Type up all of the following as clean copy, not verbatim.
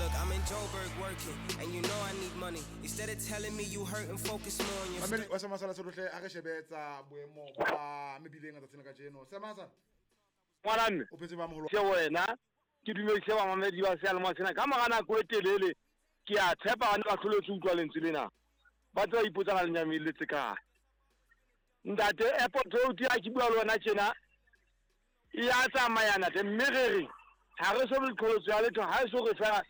Look, I'm in Joburg working, and you know I need money. Instead of telling me you hurt and focus more on your Mamedi wa Semasala Solohle, a re shebe tsa boemo ba mebileng a tsatsing la kajeno. Semasa. Ngwana mme. O phetse ba moholo. Se wena ke dumedise bamamedi ba seyalemoya sena ka mora nako e telele. Ke a tshepa ba ne ba hloletswe utlwa lentswe lena. Ba tse ba ipotsa na le nyamelletse kae. Ntate Airport Road ya ke bua le wena tjena e ya tsamaya ntate, mme re re ha re so be le qholotso ya letho, ha e so re fela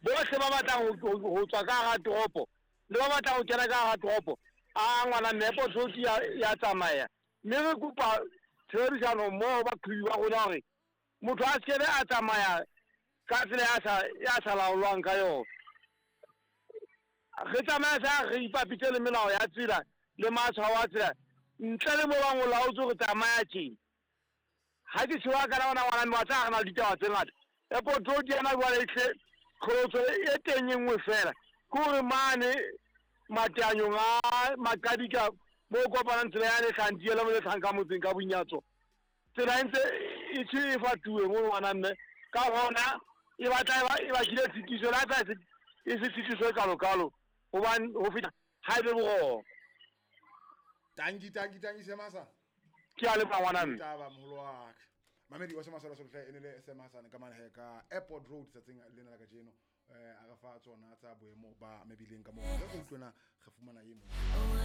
bohle ba batlang ho tswa ka hara toropo le ba batlang ho kena ka hara toropo, a ngwana mme Airport Road ya tsamaya, mme re kopa tshebedisano mmoho baqhobi ba rona hore motho a sekebe a tsamaya ka tsela ya sa laolwang ka yona. Re tsamaya sa re ipapitse le melao ya tsela le matshwao a tsela, ntle le mo bang o laotse hore tsamaya tjena. Ha ke tjho ka ona ngwana mme wa tseba re na le ditaba tse ngata. Airport Road yana jwale e hle qholotso e teng e nngwe fela, ke hore mane mateanyong a Maqadika mo kopanang tsela yane e hlahang Diela mo le hlahang ka motseng ka Bonyatso, tsela e ntse e tjhe e fatuwe mo ngwana mme, ka hona e batla e bakile tshitiso, le ha e se tshitiso e kalo-kalo, hobane ho feta ha e be boroko. Tanki, tanki, tanki, Semasa. Ke a leboha ngwana mme. Taba moholo wa ka. Mamedi wa Semasala Solohle e ne le Sam Hassan ka mane he ka Airport Road tsatsing lena la kajeno. A re fa tsona tsa boemo ba mebileng ka moo. Re utlwena re fumana e mong.